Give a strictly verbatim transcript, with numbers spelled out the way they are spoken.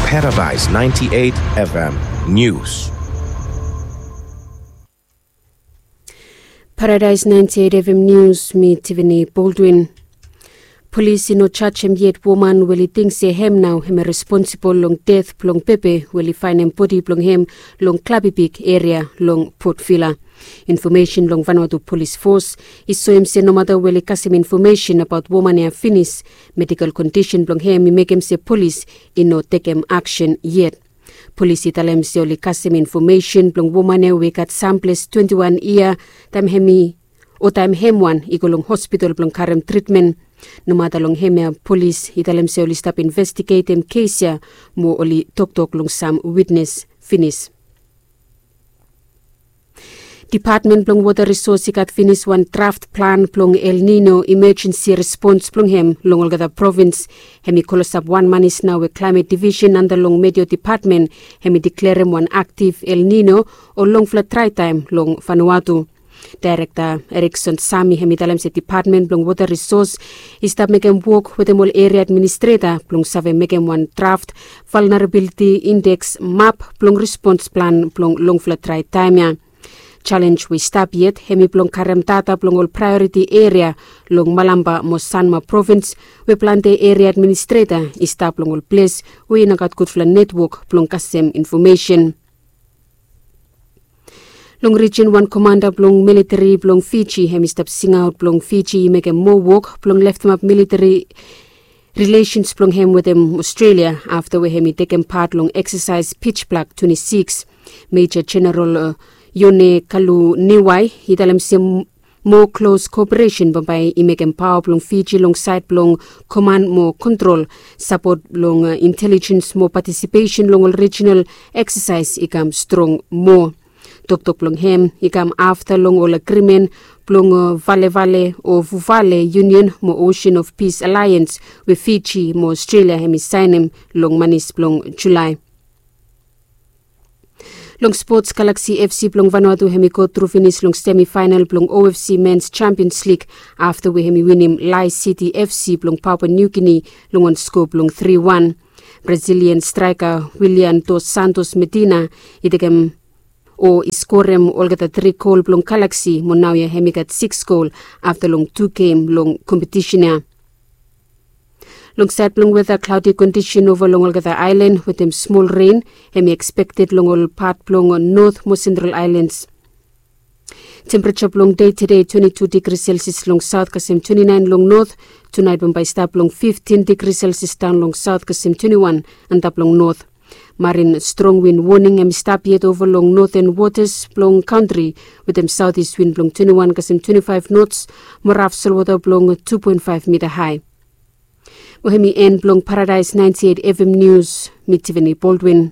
Paradise ninety-eight F M News. Paradise ninety-eight F M News, mi Tiffany Baldwin. Polis i no jajem yet woman we oli ting se hem nao hem i responsibol long det blong Pepe we oli faenem bodi blong hem long Klabibik eria long Port Vila. Infomesen long Vanuatu Polis Fos i soem se nomata we oli kasem infomesen abaot woman ya finis, medikol kondisen blong hem i mekem se polis i no tekem aksen yet. Polis i talem se oli kasem infomesen blong woman ya we i gat samples twenti wan yia taem hem i o taem hem wan i go long hospital blong karem tritmen. Nomata long hemia, polis i talem se oli stap investigetem kes ya mo oli toktok long sam witnes finis. Depatmen blong Wota Risos i gat finis wan draft plan blong El Nino imajensi respons blong hem long olgeta provins. Hem i klosap wan manis nao we Klaemet Divisen anda long Meteo Depatmen hem i deklarem wan aktiv El Nino o longfala draetaem long Vanuatu. Daerekta Erikson Sami hem i talem se depatmen blong Wota Risos i stap mekem wok wetem ol eria administreta blong save mekem wan draft valnerabiliti indeks map blong respons plan blong longfala draetaem ya. Jalenj we i stap yet hem i blong karem data blong ol praeoriti eria long Malampa mo Sanma provins we plante eria administreta i stap long ol ples we i no gat gudfala netwok blong kasem infomesen. Long rijin, wan komanda blong militeri blong Fiji hem i stap singaot blong Fiji i mekem moa wok blong leftemap militeri rilesens blong hem wetem Australia afta we hem i tekem pat long eksasaes Pitch Black twenti sikis. Meja Jeneral Yone Kaluniwai i talem se moa klos koperesen bambae i mekem paoa blong Fiji long saed blong koman mo kontrol, sapot blong intelijens mo patisipesen long ol rijinal eksasaes i kam strong moa. Toktok blong hem i kam afta long ol agrimen blong valevale o vuvale yunion mo Ocean of Peace Alliance we Fiji mo Australia hem i saenem long manis blong Julae. Long spots, Galaxy F C blong Vanuatu hem i gotru finis long semifaenal blong O F C Mens Champions Lig afta we hem i winim Lae City F C blong Papua New Guinea long wan skoa blong tri wan. Brazilian straeka Willian Dos Santos Medina i tekem o i skorem olgeta tri gol blong Galaxy mo naoia hem i gat sikis gol afta long tu gem long kompetisen ya. Long saed blong weta, klaodi kondisen ova long olgeta aelan wetem smol ren hem i ekspekted long ol pat blong Not mo Sentral Aelans. Tempereja blong dei tede twenti tu digri Selsias long saot kasem twenti naen long Not. Tunaet bambae i stap long fiftin digri Selsias daon long saot kasem twenti wan antap long Not. Marin strong win woning hem i stap yet ova long noten wotas blong kantri wetem saotis win blong twenti wan kasem twenti faef nots mo raf solwota blong tu poen faef mita hae. Mo hem i en blong Paradaes naenti eit F M Nius, mi Tivani Baldwin.